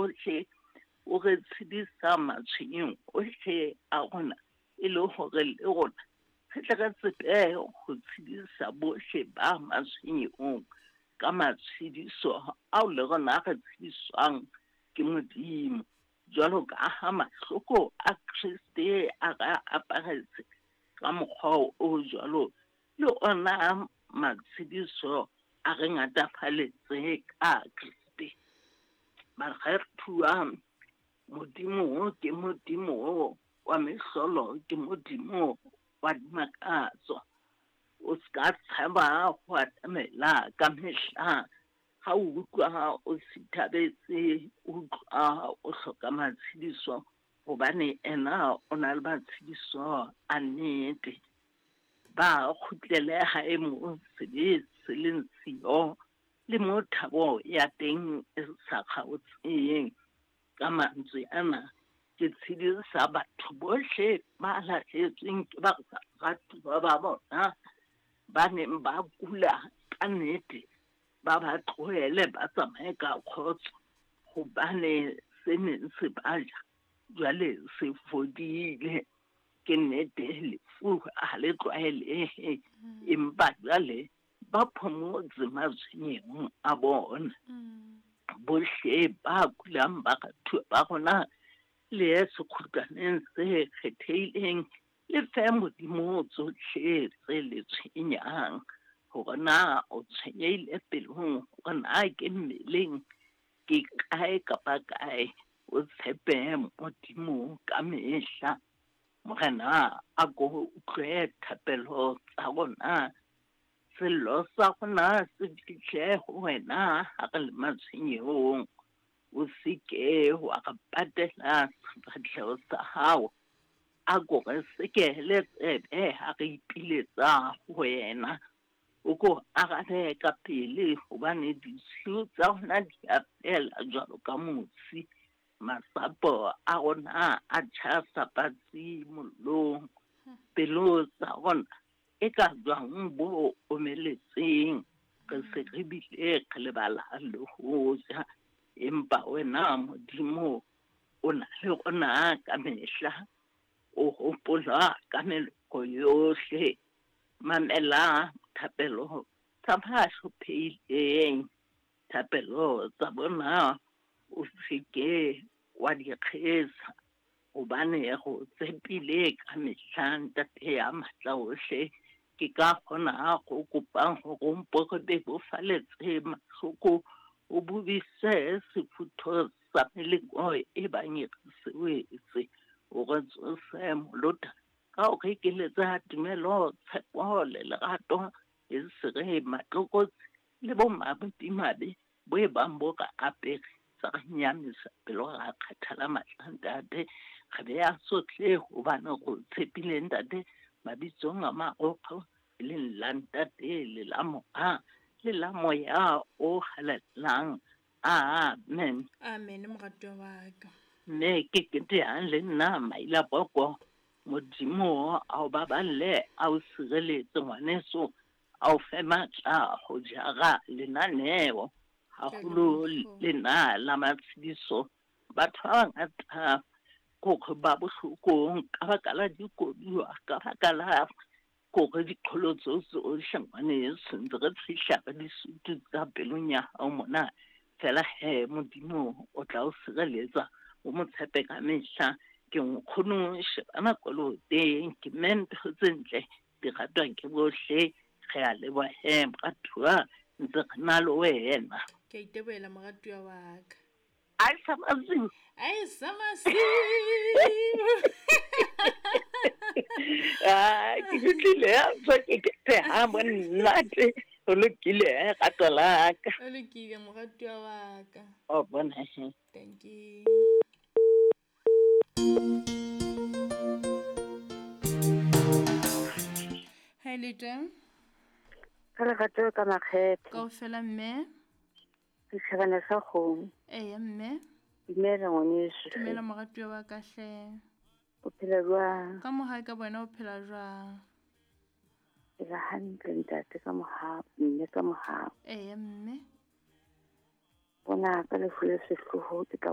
ohle, o re tshedisa matshwenyong ohle a rona, e le hore le rona re tle re tsebe ho tshedisa bohle ba matshwenyehong ka matshediso ao le rona re tshediswang ke Modimo. Jwalo ka ha mahloko a Kreste a re aparetse ka mokgwa o jwalo, le ona matshediso a re ngatafaletse ka Kreste. Baratuwa, Modimo ke Modimo wa mehlolo, ke Modimo wa dimakatso. O ska tshaba ho atamela ka mehla ha o utlwa o sithabetse, o utlwa o hloka matshediso, hobane ena o na le matshediso a nnete. Ba kgutlele hae moo sebe se leng siyo le moo thabo ya teng e sa kgaotseng. Ka mantswe ana, ke tshedisa batho bohle ba lahlehetsweng ke baratuwa ba bona ba neng ba kula ka nnete, ba ba tlohele ba tsamaye ka kgotso, hobane se neng se ba ja jwale se fodile. Ke nnete lefu ha le tlwaelehe, empa jwale ba phomotse matshwenyehong a bona. Bohle ba kulang baratuwa ba rona, le ye sekgutlwaneng se kgethehileng, le fe Modimo tsohle tse le tshwenyang, hore na o tshwenyehile pelong, hore na ke mmeleng, ke kae kapa kae, o tshepe Modimo ka mehla. Morena a ko utlwe thapelo tsa rona, sello sa rona se fihle ho wena ha re le matshwenyehong. O se ke wa re patela sefahleho sa hao, a ko re sekehele tsebe ha re ipiletsa ho wena. O ko arabe ka pele, hobane ditshiu tsa rona di a fela jwalo ka mosi, masapo a rona a tjha sa patsi mollong, pelo tsa rona e ka jwang bo omeletseng, re se re bile re lebala le ho ja. Empa wena Modimo o na le rona ka mehla, o hopola ka meloko yohle. Mamela thapelo tsa ba hlophehileng, thapelo tsa bona o se ke wa di kgesa, hobane re o tshepile ka mehla, Ntate ya matla ohle. Ke ka kgona go kopang hore o mpo re bebofaletse mahloko, o bobise sefutho sa meleko e bang e re se wetse, o re tsose molota ka ho re ekeletsa tumelo, tshepo le lerato, e se re matlokotsi le bomadimabe bo e bang bo re apere, tsa re nyamisa pelo, ra kgathala matla, Ntate. Re beha tsohle hobane re o tshepile, Ntate, mabitsong a marokgo, e leng la Ntate le la Mora le la Moya o Halalelang. Amen. Amen, moratuwa wa ka. Mme ke ketehang le nna Maila Boko. Modimo a o baballe, a o sireletse ngwaneso, a o fe matla ho jara lenaneo, haholo lena la matshediso. Batho ba bangata kore ba bohlokong ka baka la dikoduwa, ka baka la kore diqholotso tsohle ngwaneso, ntse re fihla re disutu tsa pelong ya hao mona. Fela he, Modimo o tla o sireletsa, o mo tshepe ka mehla. Ke nkgono shebana koloteng, ke mme ntho tse ntle di ratwa ke bohle. Re a leboha he moratuwa, ntse re na le wena. Ke a itebohela moratuwa wa ka. Ai sa masiu. Ai sa masiu. Ah, ke utlwile ya tswa ke ke ha monate. O lokile rato la ka. O lokile moratuwa wa ka. O bona he. Thank you. Hi Lita. Ka lerato ka makgethe. Kaofela mme. Setjhabana sa kgomo. Eya mme. Dumela ngwaneso. Dumela moratuwa wa ka hle. O phela jwang? Ka mohau ka bona o phela jwang? Phela hantle ntate ka mohau, mme ka mohau. Eya mme. Bona ka lefu le sehloho ke tla